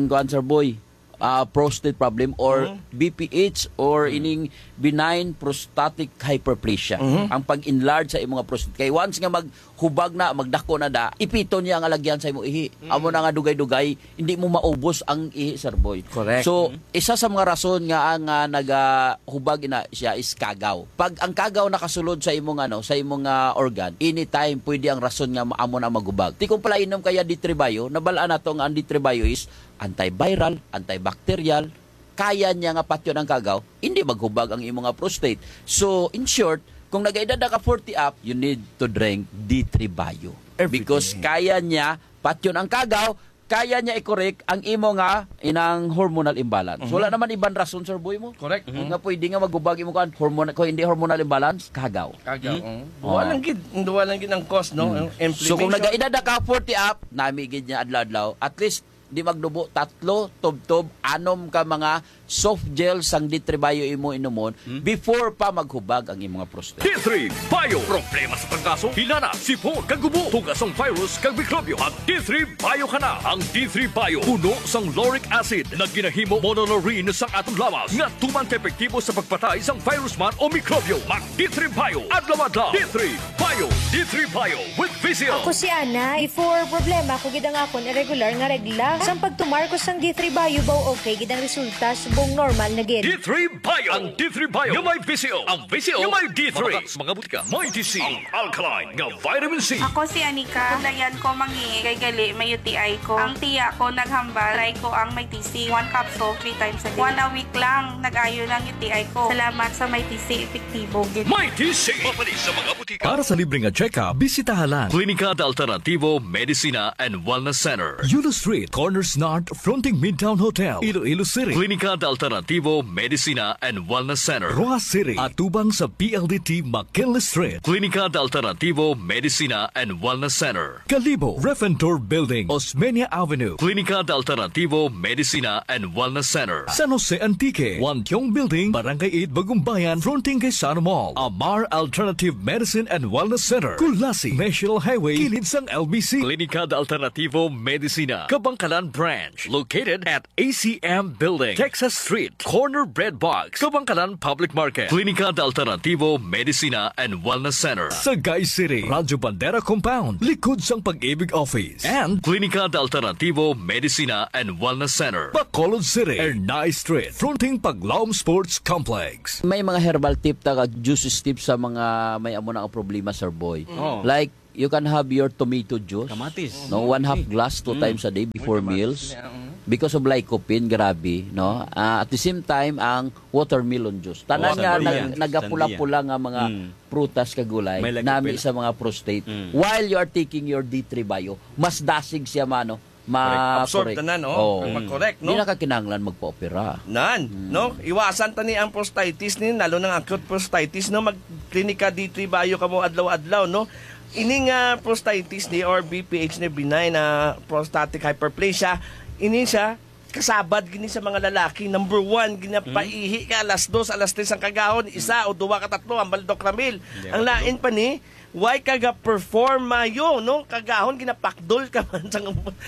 kuwan, Sir Boy, ah, prostate problem or Mhm. B P H or Mhm. ining benign prostatic hyperplasia. Mhm. Ang pag-enlarge sa imong prostate. Kay once nga mag-, hubag na, magdako na da, ipiton niya ang alagyan sa imo ihi. Mm. Amo na nga dugay-dugay, hindi mo maubos ang ihi, Sir Boy. Correct. So, Mm. isa sa mga rason nga ang, ah, nagahubag ina siya is kagaw. Pag ang kagaw nakasulod sa imong, ano, sa imong, ah, organ, anytime pwede ang rason nga ma-, amo na maghubag. Ti kung palainom kaya D three Bio, nabalaan nato nga ang D three Bio is antiviral, antibacterial, kaya niya nga patyon ang kagaw, hindi maghubag ang imo nga prostate. So, in short, kung nag-edad na ka forty up, you need to drink D three Bio. Every Because day. kaya niya patyon ang kagaw, kaya niya i-correct ang imo nga inang hormonal imbalance. Mhm. Wala naman iban rason, Sir Boy mo. Correct. Mhm. Nga pwede nga maghubag imo kan hormon-, kung hindi hormonal imbalance, kagaw. Kagaw, Mhm. oh. Duwa Oh. lang gid, duwa lang gid ang cause, no? Mhm. Ang So, kung inflammation. nag-edad na ka forty up, nami gid niya adlaw-adlaw, at least di magdubo, tatlo, tubtob, anom ka mga soft gel sang D three Bio imo inumon Hmm? before pa maghubag ang imong prostate. D three Bio. Problema sa trangkaso, hilana, sipon, kag ubo, tugas sang virus kag mikrobyo. Mag D three Bio ka na. Ang D three Bio puno sang lauric acid nga ginahimo monolerene sang aton lawas nga tuman ka epektibo sa pagpatay sang virus man o mikrobyo. Mag D three Bio adlaw-adlaw. D three Bio. D three Bio with Vicio. Ako si Ana. Before, problema ko gid ang akon irregular nga regla. Sang pagtumar ko sang D three Bio, baw okay gid ang resulta, subong normal na gid. D three Bio. Ang D three Bio nga may Vicio. Ang Vicio nga may D three. Mabata sa mga butika. May D C. Ang alkaline nga vitamin C. Ako si Anika. Kulayan ko mangihi kay gali may U T I ko. Ang tiya ko naghambal, try ko ang may T C. One capsule, three times a day. One a week lang, nag-ayo lang U T I ko. Salamat sa may T C, epektibo gid. May T C. Mapalit sa mga butika. Para sa libre nga check-up, bisitaha lang Klinika de Alternativo Medicina and Wellness Center, Yulo Street, Corners North, fronting Midtown Hotel, Iloilo City. Klinika de Alternativo Medicina and Wellness Center, Roxas City, atubang sa P L D T McKinley Street. Klinika de Alternativo Medicina and Wellness Center, Kalibo, Refentor Building, Osmeña Avenue. Klinika de Alternativo Medicina and Wellness Center, San Jose Antique, Wantiong Building, Barangay eight, Bagumbayan, fronting kay Sano Mall. Amar Alternative Medicine and Wellness Center, Culasi, National Highway, kilid sang L B C. Klinika de Alternativo Medicina, Kabangkalan Branch, located at A C M Building, Texas Street, corner Bread Box, Kabangkalan Public Market. Klinika de Alternativo Medicina and Wellness Center, Sagay City, Radyo Bandera Compound, likod sang Pag-ibig Office. And Klinika de Alternativo Medicina and Wellness Center, Bacolod City, Ernai Street, fronting Paglaom Sports Complex. May mga herbal tip ta kag juices tip sa mga may amo na nga problema, Sir Boy. Oh. Like, you can have your tomato juice. Kamatis. No, one half Mm. glass two Mm. times a day before May kamatis meals. Niya, mm. Because of lycopene, grabe, no? Ah, at the same time, ang watermelon juice. Tanan nga Watermelon. Nag-, nagapula-pula nga mga Mm. prutas kag gulay, May lycopene. Nami sa mga prostate. Mm. While you are taking your D three Bio, mas dasig siya mano, ma-, Correct. Absorb correct. Na, no? Oo. Mag-correct, no? Di na ka kinahanglan magpa-opera. Nan, Mm. no? Iwasan ta ni ang prostatitis ni, lalo nang acute prostatitis, no? Mag-Klinika D three Bio kamo adlaw-adlaw, no? Ini nga prostatitis ni or B P H ni, benign na prostatic hyperplasia, ini siya kasabad gini sa mga lalaki. Number one, ginapaihi ka alas dos, alas tres ang kagahon, isa o duwa ka tatlo ang baldok ramil. Yeah. Ang lain pa ni, why ka ga-perform mayo, no? Kagahon, ginapakdol ka man sa,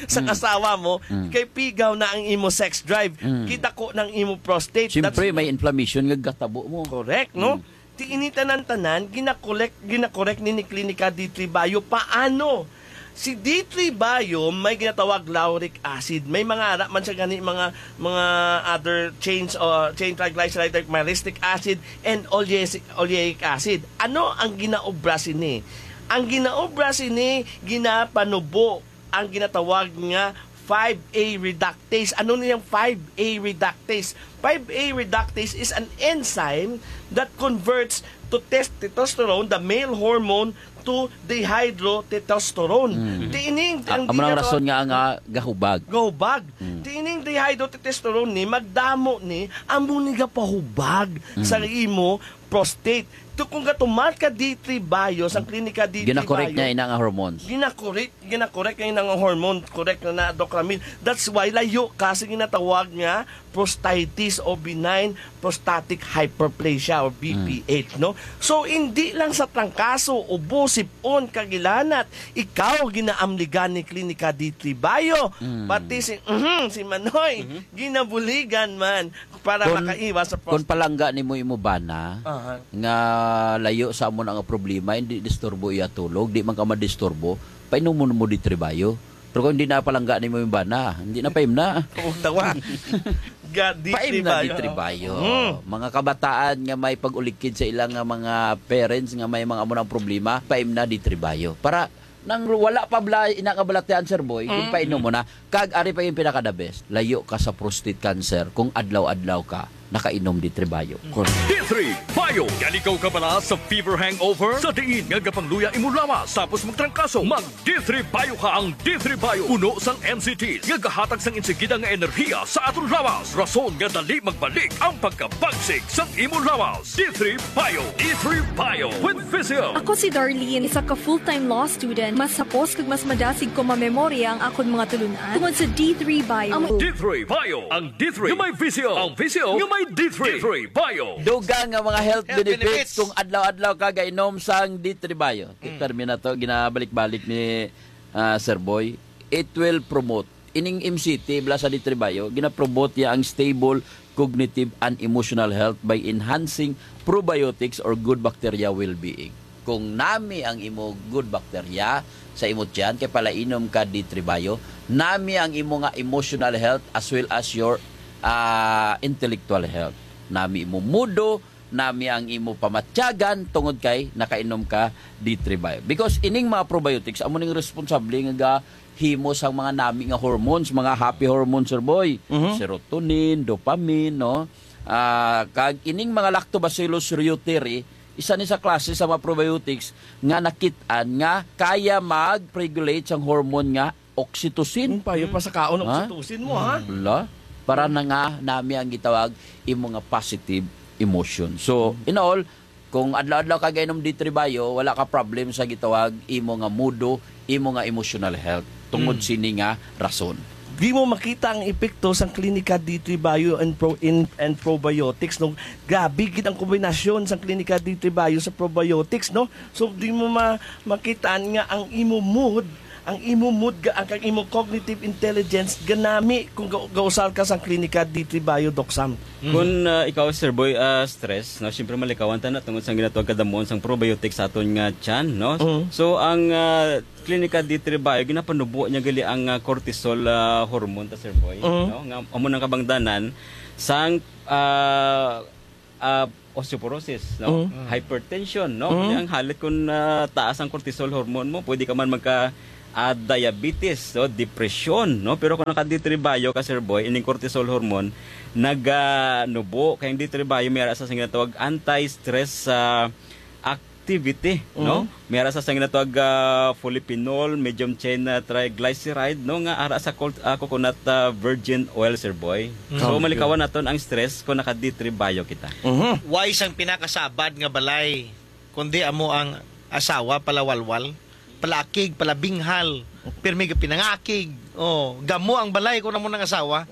sa Mm. asawa mo, Mm. kay pigaw na ang imo sex drive, Mm. kita ko ng imo prostate. Siyempre, That's may inflammation nga gatabo mo. Correct, no? Mm. Ti ini tanan-tanan, ginakolek-, ginakorek ni, ni Klinika D three Bio. Paano? Si D three Bio may ginatawag lauric acid. May mga ara man siya gani, mga, mga other chains o chain triglyceride like myristic acid and oleas-, oleic acid. Ano ang ginaobra sini? Ang ginaobra sini, ginapanubo ang ginatawag nga five A reductase. Ano niyang five A reductase? Five A reductase is an enzyme that converts to tes-, testosterone, the male hormone, to dihydrotestosterone. Mm. Ti ining, Ah, ang amo nang ginawa-, rason nga, nga gahubag. Gahubag. Mm. Ti ining dihydrotestosterone ni, magdamo ni, amo ni gapahubag Mm. sa imo prostate. To kung gatumar ka D three Bio, sa klinika D three Ginakorek Bio, niya ina nga hormones. Ginakorek, ginakorek niya ina nga hormone, correct na na, Doc Ramil. That's why layo ka sa ginatawag nga prostatitis o benign prostatic hyperplasia or B P H, Mm. no? So, hindi lang sa trangkaso, ubo, sip-on, kagilanat, ikaw ginaamligan ni Klinika D three Bio. Mm. Pati si, mhm, si Manoy, Mhm. ginabuligan man para Kung, makaiwas sa kung prostate. Palangga nimo imo bana, Aha. nga layo sa amo na nga problema, hindi disturbo iya tulog, di man ka madisturbo, painom mo mo D three Bio. Pero kung hindi na palangga nimo yung bana, hindi na paimna. Huwag tawa. Ga-, D three Paimna Bio. D three Bio. Mm. Mga kabataan nga may pag-ulikid sa ilang nga mga parents nga may mga amo ng problema, paimna D three Bio. Para nang wala pa bala ina nga balatian, Sir Boy, yung Mm. painom mo na. Kag ari pa yung pinaka-the best, layo ka sa prostate cancer kung adlaw-adlaw ka nakainom D three Bio. D three Bio. Galigaw ka bala sa fever hangover? Sa diin nga gapangluya imo lawas tapos magtrangkaso? Mag D three Bio ka. Ang D three Bio puno sang N C Ts nga gahatag sang insigida nga enerhiya sa aton lawas, rason nga dali magbalik ang pagkabagsik sang imo lawas. D three Bio. D three Bio with Vizio. Ako si Darlene, isa ka full-time law student. Mas hapos kag mas madasig ko mamemorya ang akon mga tulunan tungod sa D three Bio. Ang D three Bio. Ang D three nga may Vizio. Ang Vizio nga may D three. D three Bio. Dugang nga mga health Health benefits benefits. Kung adlaw-adlaw ka gainom sang D three Bio. Mm. Termino to, ginabalik-balik ni, ah, Sir Boy. It will promote. Ining M C T, bala sa D three Bio, ginapromote niya ang stable cognitive and emotional health by enhancing probiotics or good bacteria well-being. Kung nami ang imo good bacteria sa imo tiyan, kay palainom ka D three Bio, nami ang imo nga emotional health as well as your, ah, intellectual health. Nami imo mudo, nami ang imo pamatyagan tungod kay nakainom ka D three Bio. Because ining mga probiotics, amo ning responsable nga gahimo sang mga nami nga hormones, mga happy hormones, Sir Boy. Mhm. Serotonin, dopamine, no? Ah, kag ining mga Lactobacillus reuteri, isa ni sa klase sa mga probiotics nga nakit-an nga kaya mag-regulate sang hormone nga oxytocin. Ang payo pa sa kaon, Ha? oxytocin mo, ha? Wala. Para na nga nami ang gitawag imo nga positive emotion. So, in all, kung adlaw-adlaw ka gainom D three Bio, wala ka problem sa gitawag imo nga mudo, imo nga emotional health. Tungod Mm. sini nga rason. Di mo makita ang epekto sang Klinika D three Bio and, pro, in, and probiotics, no? Grabe gid ang kombinasyon sang Klinika D three Bio sa probiotics, no? So, di mo ma, makita nga ang imo mood, ang imo mood, ga, ang, ang imo cognitive intelligence, ganami kung ga, gausar ka sang Klinika D three Bio, Doc Sam. Mm. Kung, ah, ikaw, Sir Boy, ah, stress, no? Siyempre, malikawan ta na tungod sa ginatawag kadamuon sang probiotics sa aton nga tiyan, no? Mm. So, ang, ah, Klinika D three Bio, ginapanubo niya gali ang, ah, cortisol, ah, hormone ta, Sir Boy, Mm. no? Nga, amo nang kabangdanan sang, ah, ah, osteoporosis, no? Mm. Hypertension, no? Mm. Kani ang halit kung, ah, taas ang cortisol hormone mo, pwede ka man magka, ah, diabetes, no? Depression, no? Pero kung naka D three Bio ka, Sir Boy, ining cortisol hormone, naganubo. Kay ang D three Bio, may ara sa ginatawag anti-stress, ah, activity, no? Mm. May ara sa ginatawag, ah, polyphenol, medium chain, ah, triglyceride, no? Nga ara sa col-, ah, coconut, ah, virgin oil, Sir Boy. Mm. So, Tama. malikawan naton ang stress kung naka D three Bio kita. Mhm. Why sang pinakasabad nga balay, kundi amo ang asawa, palawalwal, palaakig, palabinghal, pirmi ga pinangakig. Oh, gamo ang balay kung amo nang asawa.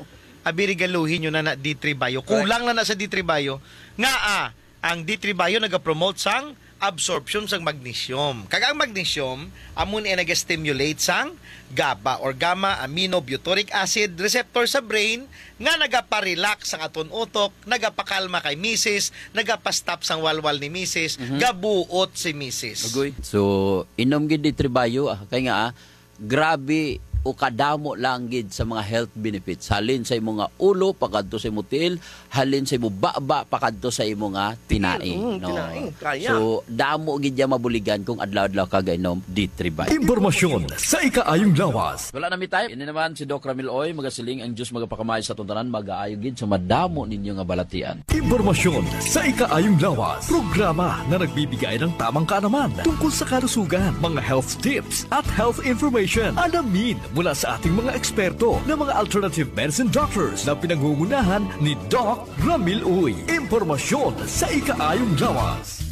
Abi, regaluhin nyo na na D three Bio. Correct. Kulang na na sa D three Bio. Nga, ah, ang D three Bio nagapromote sang absorption sang magnesium. Kag ang magnesium, amo ni ang naga-stimulate sang gaba or gamma aminobutyric acid receptor sa brain nga nagapa-relax sang aton utok, nagapakalma kay misis, nagapa-stop sang walwal ni misis, Mhm. gabuot si misis. Agoy. So, inom gid D three Bio, ah, kay nga, ah, grabe o kadamo lang gid sa mga health benefits. Halin sa imo nga ulo, pakadto sa imo tiil, halin sa imo baba, pakadto sa imo nga tinai, Mm, no? tinai, kaya. So, damo gid ya mabuligan kung adlaw-adlaw ka gainom D three Bio. Impormasyon sa ikaayong lawas. Wala na mi time. Ini naman si Doc Ramil Oy, magasiling, ang Diyos magapakamay sa aton tanan, magaayo gid sa madamo ninyo nga balatian. Impormasyon sa ikaayong lawas. Programa na nagbibigay ng tamang kaalaman tungkol sa kalusugan, mga health tips at health information. Alamin mula sa ating mga eksperto na mga alternative medicine doctors na pinangungunahan ni Doc Ramil Uy. Impormasyon sa ikaayong lawas.